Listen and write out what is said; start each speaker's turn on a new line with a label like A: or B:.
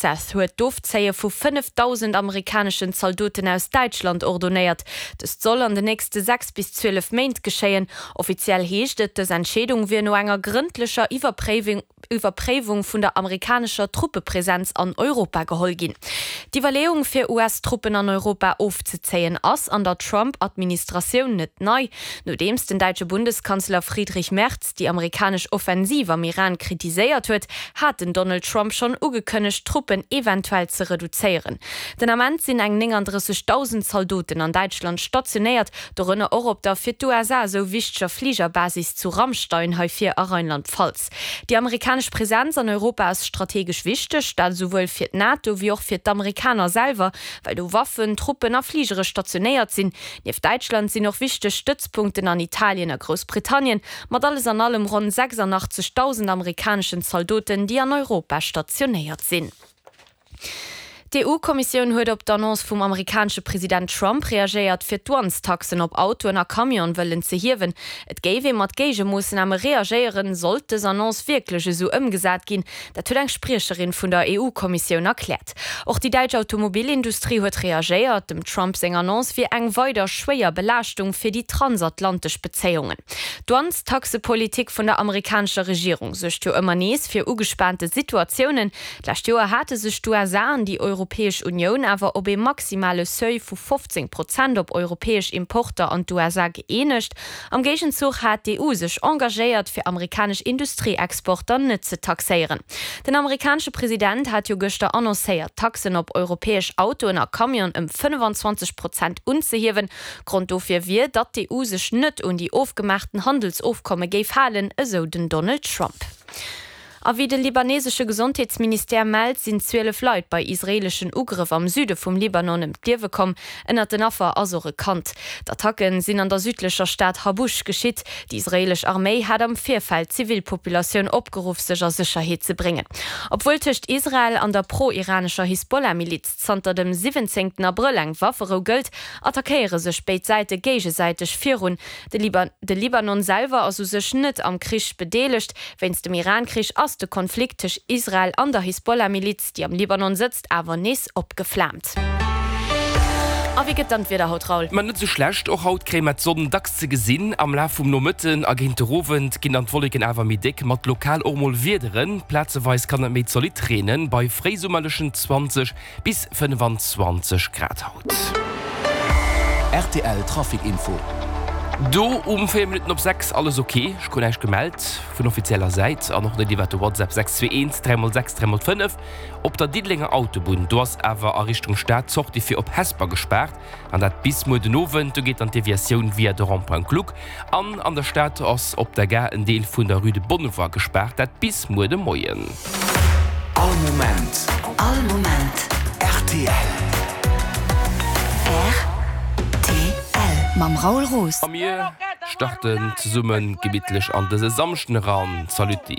A: Hegseth huet d'Ofzéie vu 5.000 amerikaneschen Zaldoten aus Däitschland ordonéiert. Dëst soll an den nächste 6 bis 12 Méint geschéien. Offiziell heescht et, dës Entscheedung wier no enger grëndlecher Iwwerpréiwung vun der amerikanescher Truppepresenz an Europa geholl ginn. D'Iwwerleeung, fir US-Truppen an Europa ofzezéien, ass an der Trump-Administratioun net nei. Nodeems den däitsche Bundeskanzler Friedrich Merz déi amerikanesch Offensiv am Iran kritiséiert huet, hat den Donald Trump schonn ugekënnegt, d'Truppen eventuell ze reduzéieren. Den Ament sinn eng 39.000 Zaldoten an Däitschland stationéiert, dorënner och op der fir d'USA esou wichteger Fligerbasis zu Ramstein hei vir a Rheinland-Pfalz. Déi amerikanesch Presenz an Europa ass strategesch wichteg, dat esouwuel fir d'NATO wéi och fir d'Amerikaner selwer, well do Waffen, Truppen a Fligere stationéiert sinn. Nieft Däitschland sinn och wichteg Stëtzpunkten an Italien a Groussbritannien, mat alles an allem ronn 86.000 amerikaneschen Zaldoten, déi an Europa stationéiert sinn. D'EU-Kommissioun huet op d'Annonce vum amerikanesche President Trump reagéiert, fir d'Douanestaxen op Autoen a Camione wëllen ze hiewen. Et géif ee mat Géigemoossname reagéieren, sollt dës Annonce wierklech esou ëmgesat ginn. Dat huet eng Spriecherin vun der EU-Kommissioun erkläert. Och déi däitsch Automobilindustrie huet reagéiert. Dem Trump seng Annonce wier eng weider schwéier Belaaschtung fir déi transatlantesch Bezéiungen. D'Douanestaxepolitik vun der amerikanescher Regierung suergt jo ëmmer nees fir ugespaante Situatiounen. D'lescht Joer hate sech d'USA an déi Europäesch Unioun awer op ee maximale Seuil vu 15 Prozent op europäesch Importer an d'USA gëeenegt. Am Géigenzuch hat d'EU sech engagéiert, fir amerikanesch Industrieexporter net ze taxéieren. Den amerikanesche President hat jo gëschter annoncéiert, d'Taxen op europäesch Autoen a Camionen ëm 25 Prozent unzehiewen. Grond dofir wier, datt d'EU sech net un déi ofgemaachten Handelsofkomme géif halen, esou den Donald Trump. A wéi de libanesesche Gesondheetsministère mellt, sinn 12 Leit bei israeeleschen Ugrëff am Süde vum Libanon ëm d'Liewe komm. Ënnert den Affer ass och e Kand. D'Attacke sinn an der südlecher Stad Habush geschitt. Déi israeelesch Arméi hat am Virfeld d'Zivilpopulatioun opgeruff, sech a Sécherheet ze bréngen. Obwuel tëscht Israel an der pro-iranescher Hisbollah-Miliz zanter dem 17 Abrëll eng Wafferou gëllt, attackéiere sech béid Säite géigesäiteg virun. De Libanon selwer ass u sech net am Krich bedeelegt. Wéinst dem Iran-Krich ass de Konflikt tëscht Israel an der Hisbollah-Miliz, déi am Libanon sëtzt, awer nees opgeflaamt. A wéi gëtt dann d'Wieder haut, Raoul?
B: Ma net esou schlecht, och haut kréie mer d'Sonn dacks ze gesinn. Am Laf vum Nomëtten a géint de Owend ginn dann d'Wolleken awer méi déck, mat lokal och mol Wiederen. Plazeweis kann et méi zolidd reenen, bei fréisummerlechen 20 bis 25 Grad haut.
C: Rtl Trafic Info.
B: Do um 4 Minutten op 6 alles ok, ech krut näischt gemellt vun offizieller Säit an och net iwwert de WhatsApp 621 3 x 6 3 x 5. Op der Diddelenger Autobunn, do ass awer a Richtung Stad d'Sortie fir op Hesper gespaart an dat bis muer den Owend. Do geet dann d'Deviatioun via de Rond-point Gluck an an der Stad ass op der Gare en Deel vun der Rue de Bonnevoie gespaart, dat bis muer de Moien.
C: All Moment.
D: All Moment.
C: Rtl.
D: Rtl. Mam Raoul Roos.
B: A mir starten zesumme gemittlech an dëse Samschden eran. Saluti.